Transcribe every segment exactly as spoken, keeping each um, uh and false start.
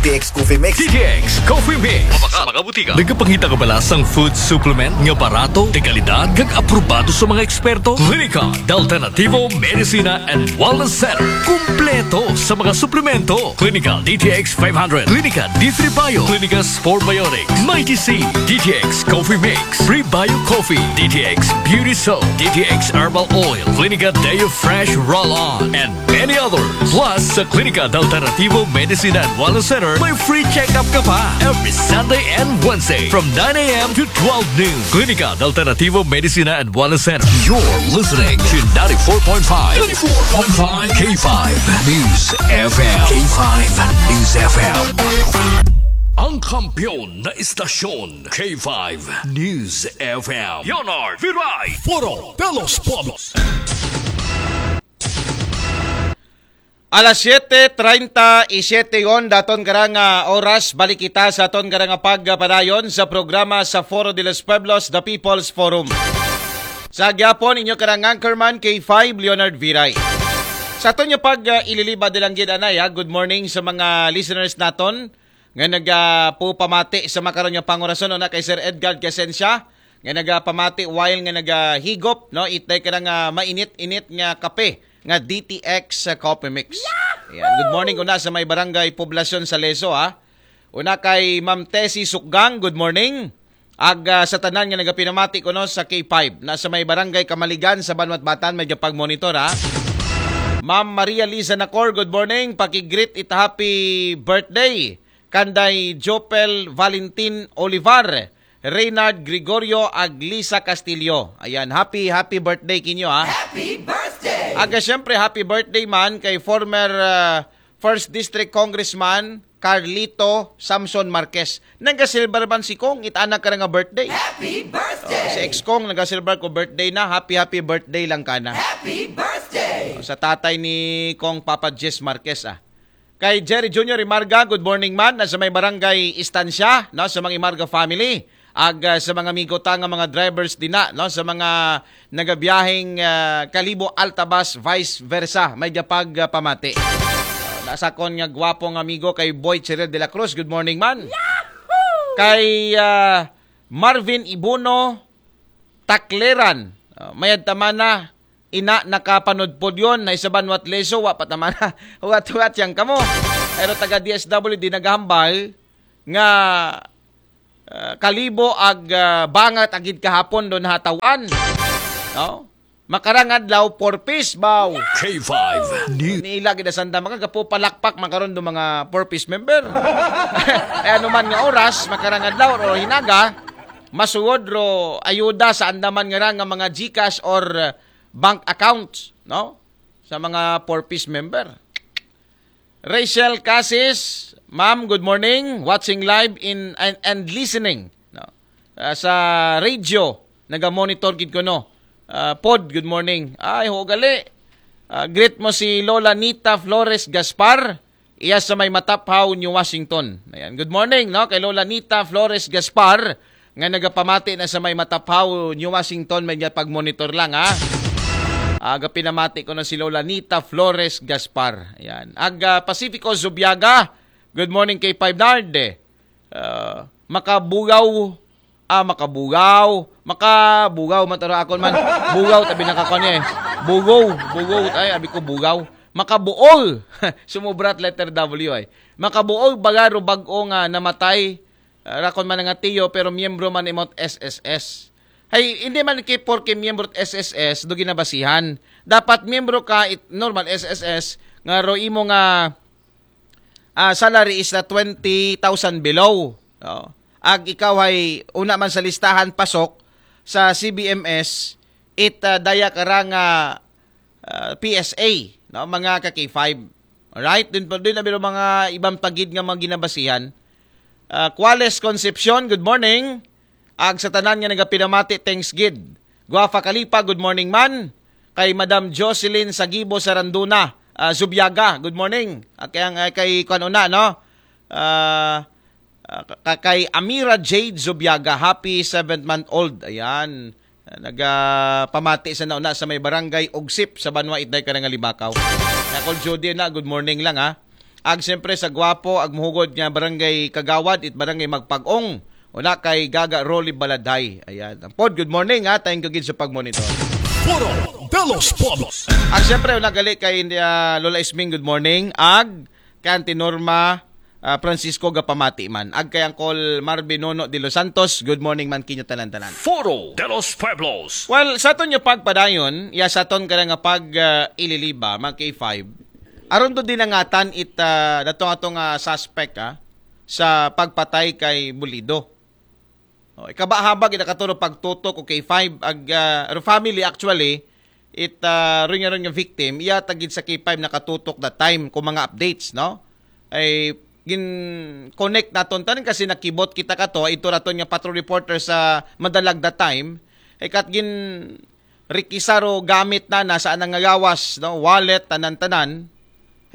T X Coffee Mix. D T X Coffee Mix. Mabaka, mga butika. Nagapangita ka ba lasang food supplement nga barato, de kalidad, kag aprobado sa mga eksperto? Klinika de Alternativo Medicina and Wellness Center. Kumpleto sa mga suplemento. Klinika D T X five hundred, Klinika D three Bio, Klinika Sport Biotics, Mighty C, D T X Coffee Mix, Prebio Coffee, D T X Beauty Soap, D T X Herbal Oil, Klinika Deo Fresh Roll-On, and many others. Plus, sa Klinika de Alternativo Medicina and Wellness Center, may free check-up ka pa every Sunday and Wednesday from nine a.m. to twelve noon. Klinika de Alternativo Medicina and Wellness Center. You're listening to ninety-four point five, ninety-four point five K five News F M. K five News F M. Ang kampiyon na istasyon, K five News F M. Leonard Viray. Foro de los Pueblos. Alas siete treinta y siete yon, daton karang ah, oras, balik kita sa aton karang pagpadayon sa programa sa Foro de los Pueblos, The People's Forum. Sa gyapon, inyo karang anchorman, K five Leonard Viray. Sa aton nga pag ah, ililiba dilang gid anay, ha? Good morning sa mga listeners naton nga nagapupamati sa makaron nga pangorason, una kay Sir Edgar Quesencia, nga nagapamati while nga nagahigop, no, itay ka nga mainit-init nga kape nga D T X sa Coffee Mix. Ayan. Good morning ko na sa may barangay Poblasyon sa Leso, ha. Una kay Ma'am Tessie Sukgang, good morning. Ag ah, sa tanan nga nagapinamati ko, no, sa K five na sa may barangay Kamaligan sa Banwat Batan, may pag-monitor, ha. Ma'am Maria Liza Nacor, good morning. Paki-greet it happy birthday kanday Jopel Valentin Olivar, Reynard Gregorio, ag Lisa Castillo. Ayan, happy, happy birthday kinyo, ha. Happy birthday! Aga, syempre, happy birthday man kay former ah, First District Congressman Carlito Samson Marquez. Nagasilbar man si Kong, it ana ka nga birthday. Happy birthday! Si ex Kong, nagasilbar ko birthday na. Happy, happy birthday lang ka na. Happy birthday! Sa tatay ni Kong Papa Jess Marquez, ah. Kay Jerry Junior Imarga, good morning man. Nasa may barangay Estancia, no, sa mga Imarga family. Ag ah, sa mga amigo ta nga mga drivers din na, no, sa mga nagabiyaheng ah, Kalibo Altabas, vice versa, may pag ah, pamati. Nasa kon nga gwapong amigo kay Boy Cheryl de la Cruz, good morning man. Kay ah, Marvin Ibuno Takleran, ah, mayad tamana, ina nakapanudpod yon na isaban wat leso, wa pa tamana, huwat-huwat yang kamo. Pero taga D S W di naghambal nga ah, Kalibo ag ah, Bangat agid kahapon do nahatawan. No? Makarang adlaw, four Ps, baw. K five News. Nila gid sa andam, makagapupalakpak makaron do mga four Ps member. Ay ano man nga oras, makarang adlaw o hinaga, masuod ro ayuda sa andaman nga ra nga mga GCash or ah, bank accounts, no? Sa mga four Ps member. Rachel Casis, ma'am, good morning. Watching live in and, and listening, no? Ah, sa radio, naga-monitor gid ko, no. Ah, pod, good morning. Ay, ho gali. Ah, greet mo si Lola Nita Flores Gaspar, iya sa may Mataphaw, New Washington. Ayan. Good morning, no, kay Lola Nita Flores Gaspar nga nagapamati na sa may Mataphaw, New Washington, may pag-monitor lang, ha. Aga pinamati ko na si Lola Nita Flores Gaspar. Ayan. Aga Pacifico Zubiaga, good morning kay Five Nard. Ah, makabugaw, ah, makabugaw, makabugaw, mataro akon man. Bugaw, tabi nakakon niya eh. Bugaw, bugaw, ay, abi ko bugaw. Makabuol. Sumubrat letter W ay. Makabuol, baga ro bag-o nga namatay. Ah, rakon man nga tiyo, pero miyembro man imot S S S. Hay, hindi man kay porke miyembro S S S, do ginabasihan. Dapat miyembro ka, it, normal S S S, nga ro imo nga ah, salary is na twenty thousand below. Oh. Ag ikaw ay una man sa listahan pasok sa C B M S, it ah, daya ka ra nga ah, P S A, no, mga ka K five. Alright? Dun pa dun na mga ibang pagid nga mga ginabasihan. Ah, Quales Concepcion, good morning. Ag sa tanan nga nagapinamati, thanks gid. Guafa Kalipa, good morning man. Kay Madam Jocelyn Sagibo Saranduna, ah, Zubiaga, good morning. Ah, kay, ang- ah, kay kuan una, no? Ah, ah, ka- kay Amira Jade Zubiaga, happy seventh month old. Ayan. Ah, nagapamati sa nauna sa may barangay Ugsip sa Banwa Itday ka nga Libakaw. Nakol Judy na, good morning lang ha. Ag siyempre sa gwapo, ag muhugod nga barangay kagawad, it barangay Magpag-ong. Una kay Gaga Rolly Baladay. Ayan. Ang pod, good morning ha. Thank you gid sa pagmonitor. Foro de los Pueblos. Ag siyempre, una gali kay ah, Lola Isming, good morning. Ag kay Auntie Norma ah, Francisco, gapamati man. Ag kay Uncle Marvin Nono de los Santos, good morning man kinyo tanan-tanan. Foro de los Pueblos. Well, sa aton nga pagpadayon, ya sa aton kada nga pag ah, ililiba, mga K five, aron to dinangatan it ah, datong atong ah, suspect ah, sa pagpatay kay Bulido. Oh, ikabahabag ina katuro pagtutok o K five ag ah, or family actually, it ah, ring ring victim, iya tagid sa K five nakatutok that time kung mga updates, no? Ay gin connect naton tanan kasi nakibot kita kato ito raton nga patrol reporter sa Madalag that time. Ay kat gin rikisaro gamit na nasa anang nga gawas, no? Wallet, tanan-tanan.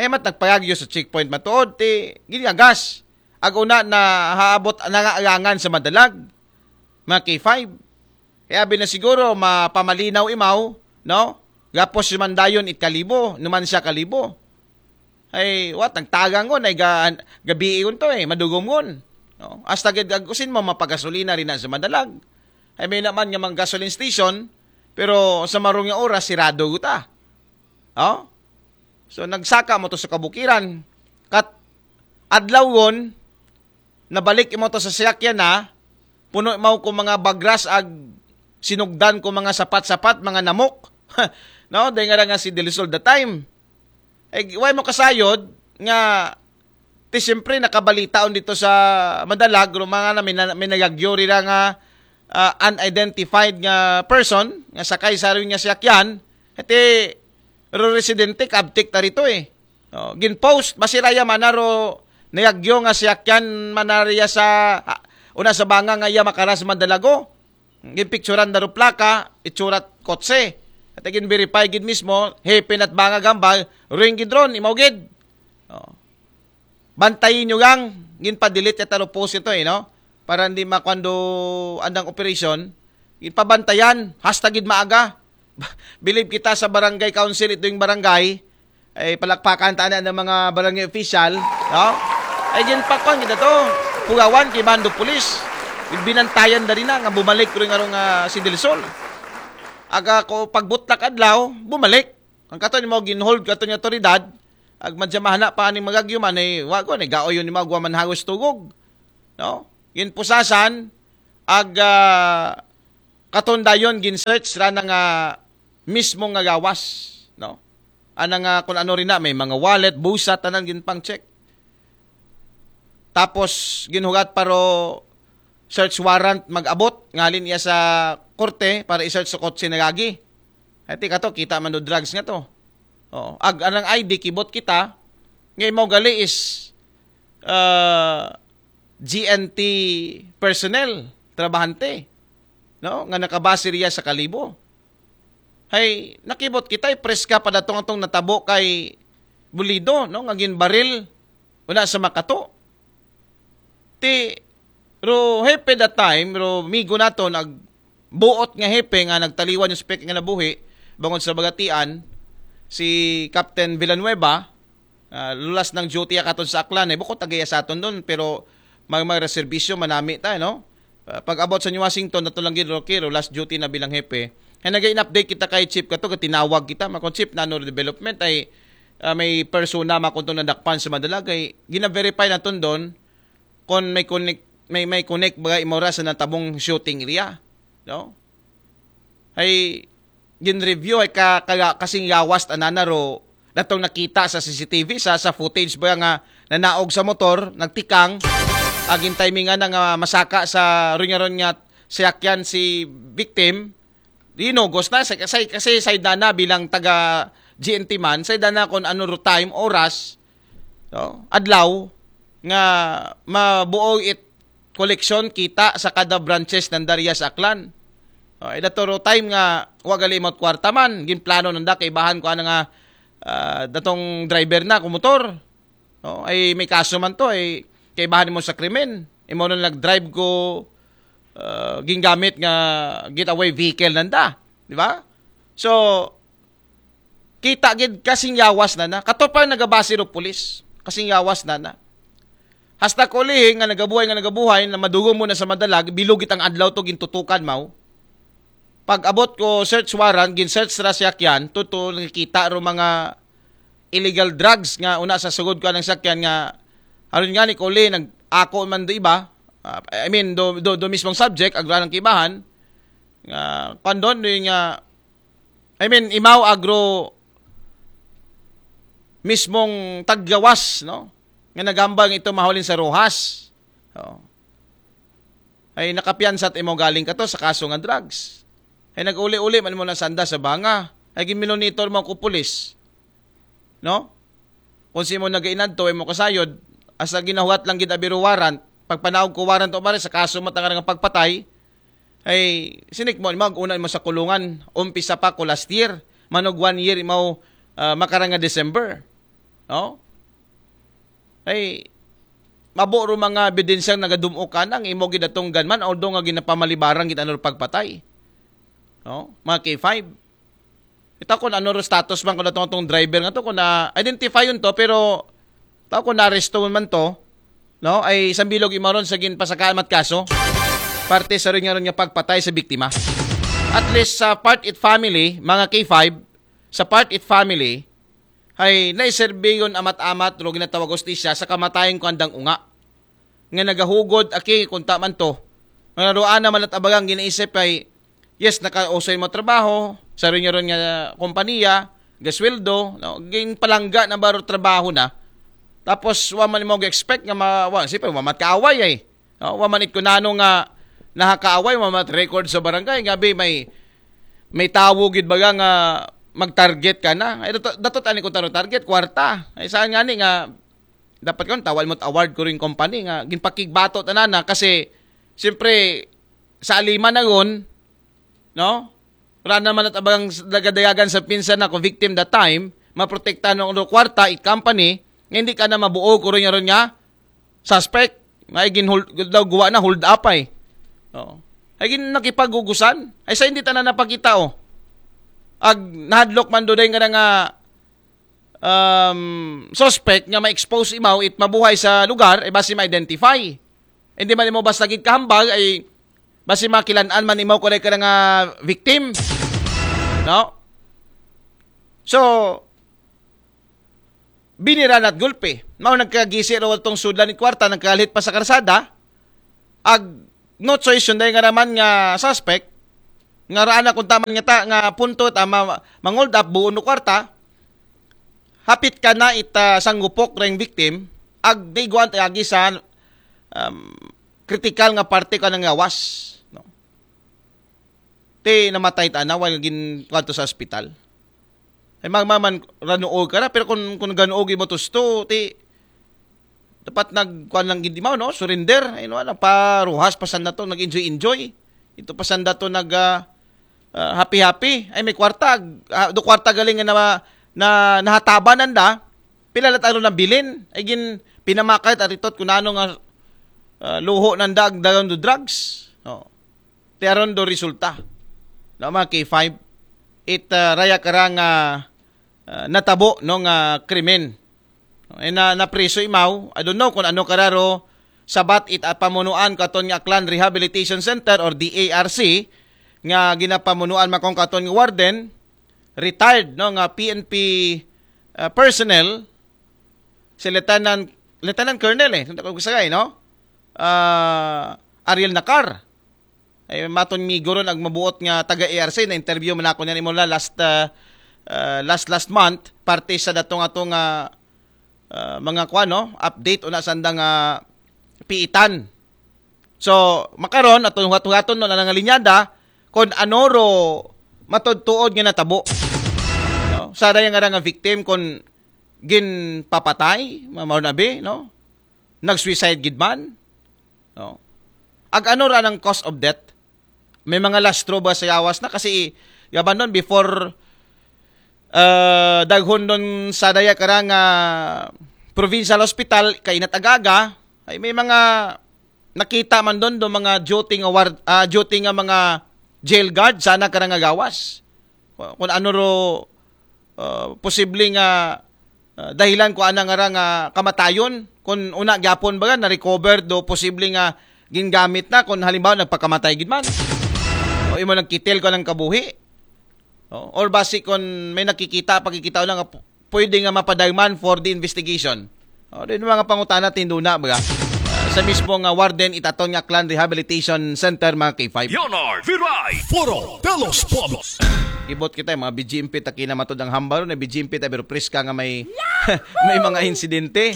Ay mat nagpayagyo sa checkpoint matuod ti ginyagas. Ag una na haabot nangaalangan sa Madalag, mga K five. Kaya abi na siguro mapamalinaw imaw, no? Gapos si Mandayon it kalibo, numan siya kalibo. Ay, wat, nagtagang ngon, ay ga, gabii ngon to eh, madugom ngon. No? Hasta gid ag usin mo mapagasolina rin na sa Madalag. Ay may naman nga mga gasoline station, pero sa marong nga oras, sirado guta. Oh? So nagsaka mo to sa kabukiran. Kat adlaw ngon, nabalik imo to sa siyakyan na, puno mo ko mga bagras ag sinugdan ko mga sapat-sapat, mga namok. No, dahil nga nga si Del Sol the time. Eh, why mo kasayod nga ti siyempre nakabalita on dito sa Madalag, mga na may, na- may nagagyo rira nga ah, unidentified nga person nga sakay sa rin nga siyakyan, iti ro residente kabtik ta rito eh. Oh, ginpost, masiraya manaro nayagyo nga siyakyan manariya sa ah, una sa banga nga iya makaras Madalago. Ginpicturan daro plaka, itsurat kotse. At gin-verify gid mismo, hepe nat banga gambal, ring gid ron, imaw gid. Oh. Bantayin nyo gang, gin pa-delete at taro post ito eh, no? Para hindi makwando andang operasyon, gin pabantayan, hasta gid maaga. Bilib kita sa barangay council, ito yung barangay, ay palakpakan ta na ng mga barangay official, no? Ay ginpakpan kita to, pugawan kay Bando Police. Binantayan na rin na nga bumalik ko rin nga si Del Sol. Aga ko pagbutlak adlaw, bumalik. Ang kato ni mo ginhold kato ni otoridad, ag madya mahana pa aning magagyuman ay wago ni gaoyon ni magwa man hagos tugog. No? Ginpusasan, ag ah, katon dayon gin-search ra na nga mismo nga gawas, no? Ana nga kung ano rin na, may mga wallet, busa, tanan gin pang-check. Tapos ginhugat paro search warrant mag-abot ngalin iya sa korte para i-search sa kotse nagagi. Ati ka to, kita man do drugs nga to. Oh, ag anang I D kibot kita, nga imaw gali is uh, G N T personnel, trabahante, no? Nga nakabase riya sa kalibo. Hay, nakibot kita, preska pa datong atong natabo kay Bulido, no? Nga ginbaril una sa makato. Ti ro hepe that time, ro migo nato nag buot nga hepe nga nagtaliwan yung spec nga nabuhi bangod sa bagatian, si Captain Villanueva, ah, lulas ng duty akaton sa Aklan eh, bukod tagaya sa aton doon, pero mag magreserbisyo manami tayo, no? Ah, pag abot sa New Washington, nato lang gid Rocky, last duty na bilang hepe. Kaya nag-in-update kita kay Chief kato, tinawag kita, makon Chief, nano development ay ah, may persona makuntong nadakpan sa Madalag ay gina-verify naton doon kung may connect, may, may connect ba imora sa natabong shooting area, no? Ay gin-review ay ka, ka, kasing yawas anana ro datong nakita sa C C T V sa sa footage ba nga nanaog sa motor, nagtikang, agin timingan na nga masaka sa ringaron nga siyakyan si victim, dinugos na sa kasi kasi sa idana bilang taga G N T man, sa idana kung ano ro time, oras, no? Adlaw nga mabuo it koleksyon kita sa kada branches ng Darias Aklan. Oh, ida to ro time nga wa gali imot kwarta man, ginplano nanda kay bahan ko ana nga ah, datong driver na ko motor. No? Ay may kaso man to ay kaibahan mo sa krimen. Imo na nag-drive ko uh, gingamit nga getaway vehicle nanda, di ba? So kita gid kasing yawas na na. Kato pa nagabase ro pulis. Kasi gawas na na. Hasta ko lihi nga nagabuhay, nga nagabuhay, na madugong mo na sa madalag, bilog it ang adlaw to, gintutukan mo. Pag abot ko search warrant, gin-search ra siya kyan, tuto nakikita ro mga illegal drugs nga una sa sugod ko ng sakyan nga, aron nga ni ko lihi, nag-ako man do iba, ah, I mean, do, do, do mismong subject, agra ng kibahan, nga, pandon, do nga, I mean, imaw agro mismong taggawas, no? Nga nagambang ito mahulin sa Rojas. Oh. Ay nakapiyansa at imo galing ka to sa kaso nga drugs. Ay nag-uli-uli man mo na sanda sa banga. Ay gimilonitor mo ko pulis. No? Kung si mo nagainadto, ay mo kasayod, asa ginahuwat lang gid abiro warrant, pagpanaog ko warrant o mare sa kaso mo tangarang pagpatay, ay sinik mo, mag-una mo sa kulungan, umpisa pa ko last year, manog one year mo, ah, makarang nga December. No? Ay, mabo ro mga ebidensyang nagadum-ok ka nang imo gidatong gunman, although nga ginapamalibaran gid ano pagpatay. No? Mga K five. Ito kung ano ro status man kung atong, atong driver nga to, kung na-identify yun to, pero tao kung na-arresto man to, no? Ay sambilog imaron sa ginpasakaan mat kaso. Parte sa rin nga ron nga pagpatay sa biktima. At least sa part it family, mga K five, sa part it family, ay naiserbiyon amat-amat ro ginatawag hustisya sa kamatayan ko andang unga. Nga nagahugod, aki, kunta man to. Nga naroon naman at abagang ginaisip ay, yes, nakausoy mo trabaho, sa rin ron nga kompanya, gasweldo, no? Ginpalangga na baro trabaho na. Tapos, wa man mo expect nga ma, wa, siyempre, wa man kaaway ay. No? Wa man it kunano nga nakakaaway, wa man record sa barangay, nga bi may, may tawo gid baga nga mag-target ka na. Ay, datot, datot ani ko taro target, kwarta. Ay, saan nga ni nga, dapat kon tawal mo't award ko rin company nga ginpakigbato tanan na kasi siyempre sa alima na ron, no? Wala naman at abang nagadayagan sa pinsan na ko victim that time, maprotektahan ng kwarta it company, nga hindi ka na mabuo ko rin ron nga suspect. May ginhold, daw guwa na hold up ay. Oo. Ay gin nakipagugusan. Ay sa hindi tanan napakita, oh. Ag nahadlok man do day nga nga um, suspect nga ma-expose imaw it mabuhay sa lugar, ay basi ma-identify. Hindi man imo basta gid kahambal, ay basi makilan-an man imaw kung ka nga victim. No? So, binira na't gulpe. Mao nagkagisi raw itong sudlan ni kwarta, nagkalit pa sa karsada. Ag no choice yun dahil nga naman nga suspect, nga raan na kung taman nga ta, nga punto ta, ma, mangold up, buo no kwarta, hapit ka na ita sanggupok ring victim, ag di guwan tayo agi sa um, critical nga parte ka ng gawas. No? Ti namatay ta na while gin kwanto sa ospital. Ay magmaman ranuog ka na, pero kung, kung ganuog mo tusto, ti dapat nagkuan lang gid mo, no? Surrender. Ay no, nagparuhas pa sanda to, nag-enjoy-enjoy. Ito pa sanda to nag ah, ah, happy-happy. Ay may kwarta, ah, do kwarta galing na na nahataban nanda. Pila la taro na bilin. Ay gin pinamakay at aritot kung ano nga ah, luho nanda ag dagang do drugs. Oh. Ti aron do resulta. No, mga K five, it ah, raya kara nga ah, natabo no nga krimen. E na napriso imaw, I don't know kung ano kararo sabat it ah, pamunuan katon nga Aklan Rehabilitation Center or D A R C nga ginapamunuan makong katon nga warden, retired no nga P N P ah, personnel, si Lieutenant Lieutenant Colonel eh, kung sagay, no? Ah, Ariel Nakar. Ay maton migo ron ag mabuot nga taga A R C, na interview man ako niyan imo la last ah, ah, last last month, parte sa datong atong ah, ah, mga kuan, no, update una sanda nga piitan. So makaron aton huhat-huhaton no na nga linyada kung ano ro matudtuod nga natabo. No? Sa daya nga ra nga victim kung ginpapatay, mao na bi, no? Nag-suicide gid man. No? Ag ano ra nang cause of death? May mga lastro ba sa yawas na kasi yaban nun before uh, daghon nun sa daya kara nga provincial hospital kainat agaga ay may mga nakita man doon do mga duty nga ward, ah, duty nga mga jail guard sana kara nga gawas. Kung ano ro ah, posible nga Ah, dahilan ko ana nga ra nga kamatayon, kun una gyapon ba na-recover do posible nga gingamit na, kun halimbawa nagpakamatay gid man. O imo nagkitil ko ng kabuhi. O, or basi kun may nakikita, pagkikita lang nga pu-, pwede nga mapadayman for the investigation. O, din mga pangutana tinduna ba? Ah, sa mismo nga Warden Itaton nga Aklan Rehabilitation Center, mga K five. Leonard Viray, Foro de los Pueblos. Ibot kita, mga B G M P ta kinamatod ang hambaro na B G M P ta, pero preska nga may may mga insidente.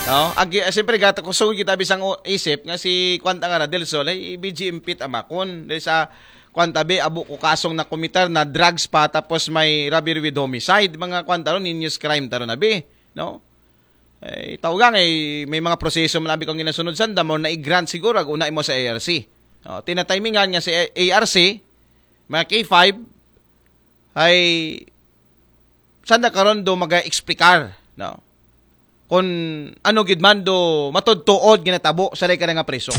No? Agi, siyempre, gata ko sugod kita bisang o-, isip nga si Kwanta nga Radel Sol ay B G M P ta makon. Dahil sa Kwanta be, abo ko kasong na kumitar na drugs pa, tapos may robbery with homicide, mga Kwanta ron, heinous crime taro na be. No? Eh, tawgang eh, may mga proseso man abi kung ginasunod sanda, mo na i-grant siguro, ag una imo sa A R C. O, tinatimingan nga si A R C, mga K five, ay sanda karon do maga-explicar, no? Kung ano gid man do matudtuod ginatabo sa lay ka nga preso.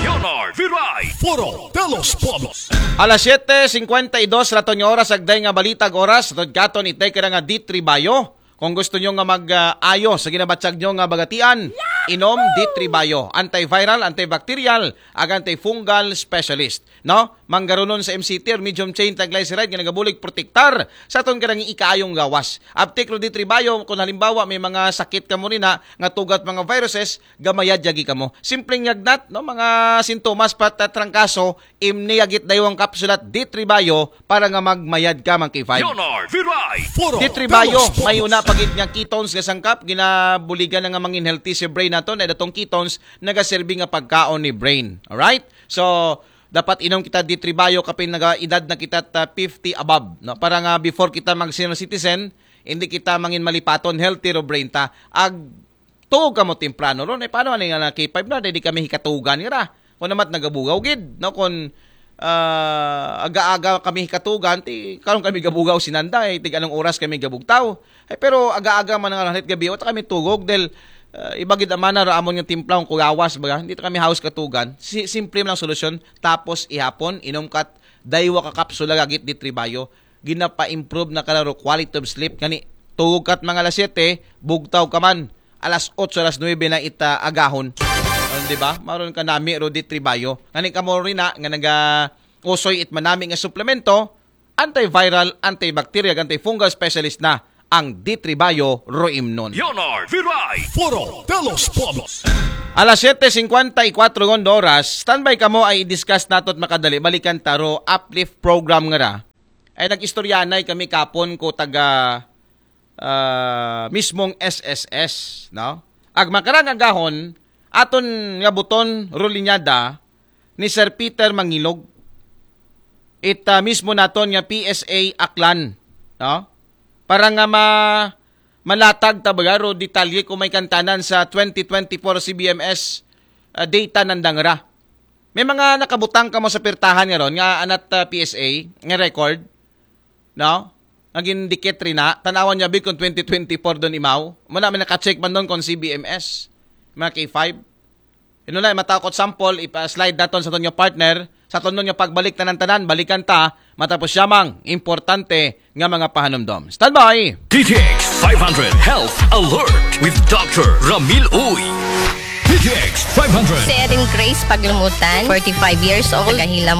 Leonard Viray, Foro de los Pueblos. Alas siyete cincuenta y dos raton nga oras, agday nga balitag oras, raton katon itay ka nga D three Bio. Kung gusto nyo nga mag-ayo sa ginabatsag nyo nga bagatian, inom D three Bio. Antiviral, antibacterial, ag antifungal specialist. No? Manggarunon sa M C T or medium chain triglyceride nga nagabulig protektar sa aton karang ikaayong gawas. Aptik ro D three Bio, kung halimbawa may mga sakit kamo rin na, nga tugat mga viruses, gamayad yagi kamo. Simpleng yagnat, no? Mga sintomas pat trangkaso, imni yagit daywang kapsulat D three Bio para nga magmayad ka, mga K five. Leonard Viray, Foro D three Bio, may una pagid nga ketones nga sangkap, ginabuligan na nga mangin healthy si brain nato, na datong ketones, nagaserbi nga pagkaon ni brain. Alright? So, dapat inom kita D three Bio kapin naga edad na kita ta fifty above, no? Para nga before kita mag senior citizen, hindi kita mangin malipaton, healthy ro brain ta. Ag tuog kamo temprano ron, eh, paano ani nga na K five na, di kami hikatugan nga ra. Kung namat nagabugaw gid, no? Kung, ah, aga-aga kami hikatugan, ti karon kami gabugaw sinanda, eh, tig anong oras kami gabugtaw. Eh, pero aga-aga man nga hit gabi, wata kami tugog, dahil, ah, iba gid amana ra amon nga timpla, kung kuyawas baga, hindi ta kami haus katugan. Si-, simple man ang solusyon, tapos ihapon, inom kat daywa ka kapsula gagit D three Bio, ginapa-improve na kararo quality of sleep. Ngani, tugog kat mga alas siyete, bugtaw ka man alas otso, alas nuwebe na ita agahon. Ah, di ba? Maron ka nami ro D three Bio. Ngani kamo rin na, nga naga usoy it manami nga suplemento, antiviral, antibacterial, antifungal specialist na ang D three Bio Roimnon. Leonard Viray, Foro de los Pueblos. Alas siyete cincuenta y cuatro ngon oras, standby kamo ay i-discuss nato at makadali. Balikan taro, uplift program nga ra. Ay nag-istoryanay kami kapon ko taga, ah, mismong S S S, no? Ag makarang agahon, aton nga buton rulinyada ni Sir Peter Mangilog. It, ah, mismo naton nga P S A Aklan, no? Para nga ma-, malatag ta baga ro detalye kung may kantanan sa twenty twenty-four C B M S, ah, data nandang ra. May mga nakabutang kamo sa pirtahan nga ron nga anat, ah, P S A nga record, no? Nga gindikit rin na, tanawan niya big kung twenty twenty-four doon imaw. Muna may nakacheck man doon kung C B M S, mga K five. Ino na, matakot sample, ipa-slide naton sa aton nga partner. Sa aton nga pagbalik tanan-tanan, balikan ta, matapos yamang importante nga mga pahanumdom. Standby! D T X five hundred Health Alert with Doctor Ramil Uy. D T X five hundred. Si Erin Grace Paglumutan, forty-five years old, taga Hilam,